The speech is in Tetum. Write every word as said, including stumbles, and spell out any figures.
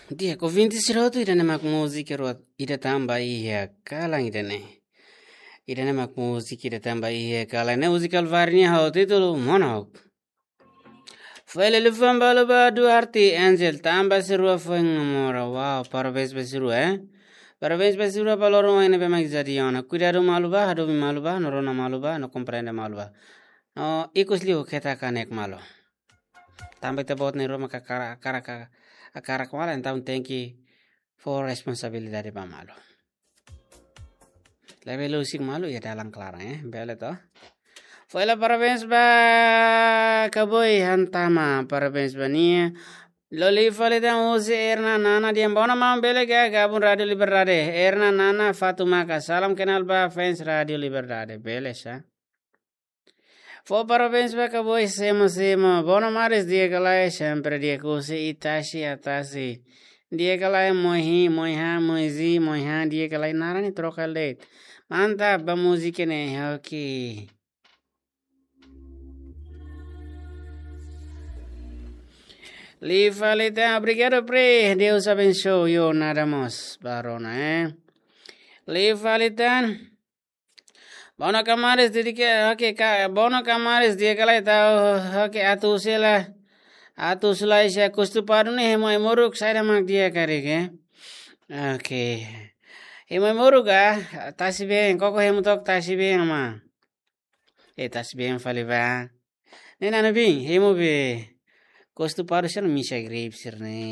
Di'ak, ouvinte sira hotu, ida-ne'e mak múzika rua, ida tanba iha kalan ida-ne'e. Ida-ne'e mak múzika ida tanba iha kalan ne'e, múzika Alvari nian ho títulu Monok. Fali liafuan ba Luba Duarte Angel, tanba sira rua foin namora. Wow, parabéns ba sira rua, eh. Parabéns ba sira rua, ba loron ohin ne'ebé mak jadi ona. Kuidadu malu bá, hadomi malu bá, no rona malu bá, no komprende malu bá. No ikus liu keta kanek malu. Tanba ita-boot na'in-rua maka hakarak, hakarak, hakarak malu, entaun tenke fó responsabilidade ba malu. Labele husik malu iha dalan klaran, eh. Bele to. Fali parabéns ba Kaboi Hantama, parabéns ba nia. Liu fali tan husi Erna Nana dehan: Bono maun, bele ka gabung Rádiu Liberdade? Erna Nana, Fatu Maka, salam kenal ba fans Rádiu Liberdade. Bele sá. Fó parabéns ba Kaboi Semo Semo. Bono maris, di'ak ka lae? Sempre di'ak. Husi Itasi Atasi. Di'ak ka lae, Moihi, Moiha, Moizi, Moiha, di'ak ka lae? Naran ne'e troka de'it. Mantap ba múzika ne'e, oke. Liu fali tan, obrigadu, Pri. Deus abençoe, yo, nada mós. Ba rona, eh. Liu fali tan. Bono ka maris, di'ak ka, oke, ka, bono ka maris, di'ak ka lae? Tau, oke, atu sela. Atu sela, se kustu padu ne'e hemu ai-moruk, saida mak di'ak karik, eh? Oke. Hemu ai-moruk ka? Tasi-been, koko hemu took tasi-been, ama. Eh, tasi-been fali bá. Ne'e nana bin, hemu be. Kustu padu sira misa grip sira-ne'e.